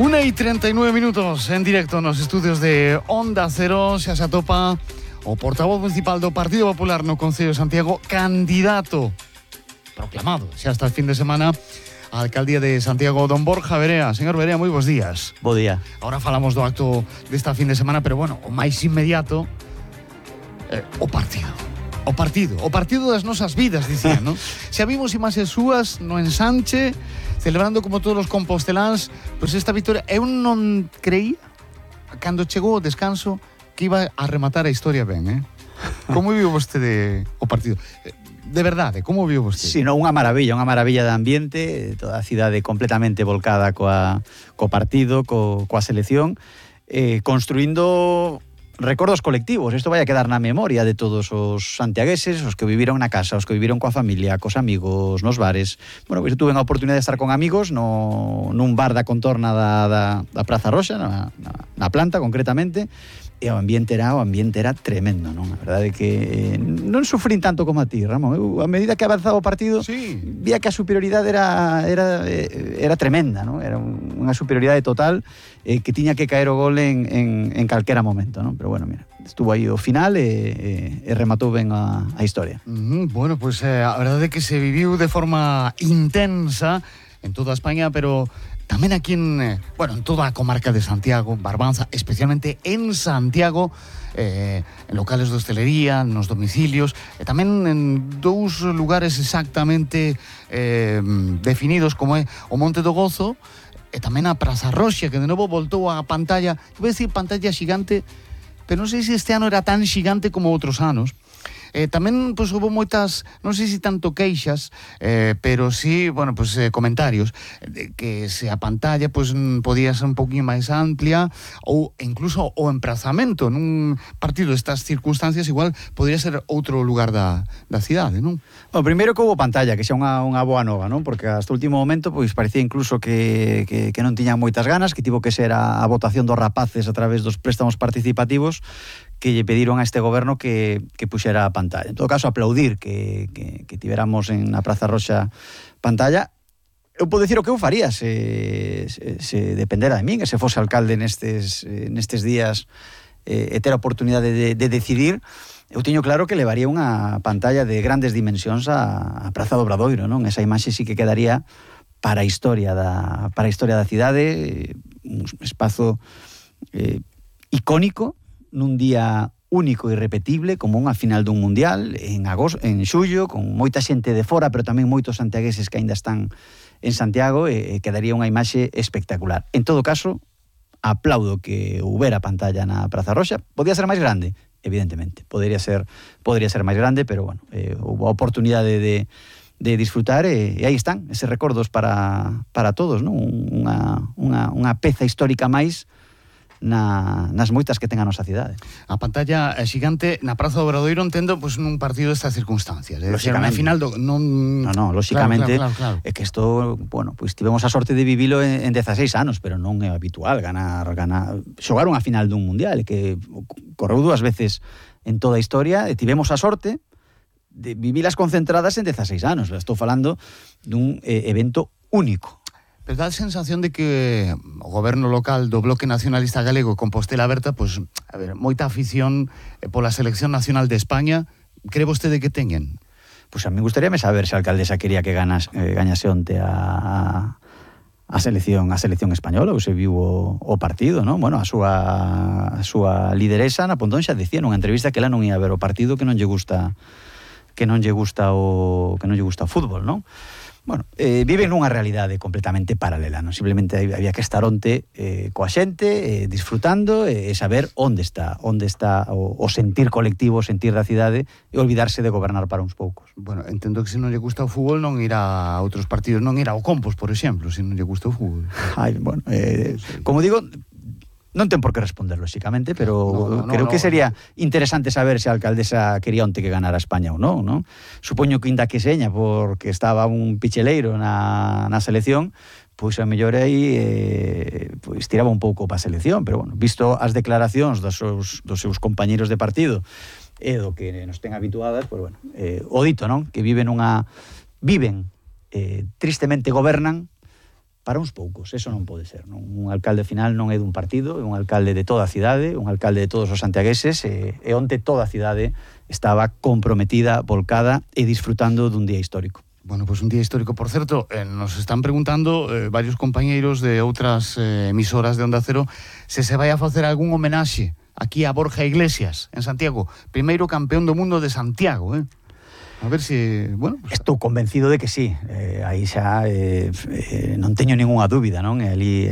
1:39 en directo nos estudios de Onda Cero. Xa se atopa o portavoz municipal do Partido Popular no Concello de Santiago, candidato proclamado xa hasta el fin de semana a alcaldía de Santiago, don Borja Verea. Señor Verea, moi bons días. Bo día. Ahora falamos do acto desta fin de semana, pero bueno, o máis inmediato, o partido das nosas vidas, dicían, non? Xa vimos imaxes súas no ensanche, celebrando como todos os composteláns, pois esta victoria. Eu non creía, cando chegou o descanso, que iba a rematar a historia ben, Como viu vostede o partido? De verdade, como viu vostede? Si, non, unha maravilla de ambiente, toda a cidade completamente volcada co partido, coa selección, construindo recordos colectivos. Isto vai a quedar na memoria de todos os santiagueses, os que viviron na casa, os que viviron coa familia, cos amigos, nos bares. Bueno, pois tuve a oportunidade de estar con amigos nun bar da contorna da Praza Roxa, na planta concretamente, e o ambiente era tremendo, non? A verdade é que non sufrín tanto como a ti, Ramón. Eu, a medida que avanzaba o partido, sí, vía que a superioridade era tremenda, non? Era unha superioridade total, que tiña que caer o gol en calquera momento, non? Pero bueno, mira, estuvo aí o final e rematou ben a historia. Bueno, pues a verdade é que se viviu de forma intensa en toda España, pero tamén aquí en toda a comarca de Santiago, Barbanza, especialmente en Santiago, en locales de hostelería, nos domicilios, e tamén en dous lugares exactamente definidos, como é o Monte do Gozo e tamén a Praza Roxa, que de novo voltou a pantalla, vou decir pantalla xigante, pero non sei se este ano era tan xigante como outros anos. Tamén pois houve moitas, non sei se tanto queixas, pero sí, bueno, pois comentarios de que se a pantalla pois podía ser un poquinho máis amplia, ou incluso o emprazamento nun partido destas circunstancias igual podría ser outro lugar da cidade, non? O primeiro que houve pantalla, que xa unha boa nova, non? Porque hasta o último momento pois parecía incluso que non tiñan moitas ganas, que tivo que ser a votación dos rapaces a través dos préstamos participativos que lle pediron a este goberno que puxera a pantalla. En todo caso, aplaudir que tiveramos en a Praza Roxa pantalla. Eu podo dicir o que eu faría se dependera de min, que se fose alcalde nestes días e ter a oportunidade de decidir. Eu teño claro que levaría unha pantalla de grandes dimensións a Praza do Obradoiro, non? Esa imaxe sí que quedaría para a historia da cidade, un espazo icónico, nun día único e irrepetible, como unha final dun mundial en xullo, con moita xente de fora, pero tamén moitos santiagueses que aínda están en Santiago, e quedaría unha imaxe espectacular. En todo caso, aplaudo que houbera pantalla na Praza Roxa. Podía ser máis grande, evidentemente. Podría ser máis grande, pero bueno, houve a oportunidade de disfrutar, e aí están, eses recordos para todos, non? Unha peza histórica máis nas moitas que ten a nosa cidade. A pantalla xigante na Praza do Obradoiro, entendo, pois nun partido destas circunstancias. Lóxicamente. Na final non... No, lóxicamente, claro. É que isto, bueno, pois tivemos a sorte de vivilo en 16 anos, pero non é habitual xogar unha final dun mundial, que correu 2 veces en toda a historia, e tivemos a sorte de vivilas concentradas en 16 anos. Estou falando dun evento único. Pero dá a sensación de que o goberno local do Bloque Nacionalista Galego, Compostela Aberta, pois, a ver, moita afición pola selección nacional de España, cree vostede que teñen? Pois a mí gustaríame saber se a alcaldesa quería que gañase onte a selección española, ou se viu o partido, non? Bueno, a súa lideresa na Pontón xa dicía nunha entrevista que ela non ia ver o partido, que non lle gusta o fútbol, non? Bueno, viven nunha realidade completamente paralela, non? Simplemente había que estar onte coa xente, disfrutando, e saber onde está o sentir colectivo, o sentir da cidade, e olvidarse de gobernar para uns poucos. Bueno, entendo que se non lle gusta o fútbol non irá a outros partidos, non irá ao Compos, por exemplo, se non lle gusta o fútbol. Bueno, como digo, non ten por que responder, lóxicamente, pero creo que sería interesante saber se a alcaldesa quería onte que ganara España ou non, non? Supoño que inda que seña porque estaba un picheleiro na selección, pois a mellor aí pois tiraba un pouco para a selección, pero bueno, visto as declaracións dos seus compañeiros de partido e do que nos ten habituadas, pois bueno, o dito, non? Que tristemente gobernan, para uns poucos, eso non pode ser, non? Un alcalde final non é dun partido, é un alcalde de toda a cidade, un alcalde de todos os santiagueses, e onte toda a cidade estaba comprometida, volcada e disfrutando dun día histórico. Bueno, pues un día histórico. Por certo, nos están preguntando varios compañeiros de outras emisoras de Onda Cero se vai a facer algún homenaxe aquí a Borja Iglesias, en Santiago, primeiro campeón do mundo de Santiago, A ver se, bueno... Pues... Estou convencido de que sí, aí xa non teño ningunha dúbida, non? E ali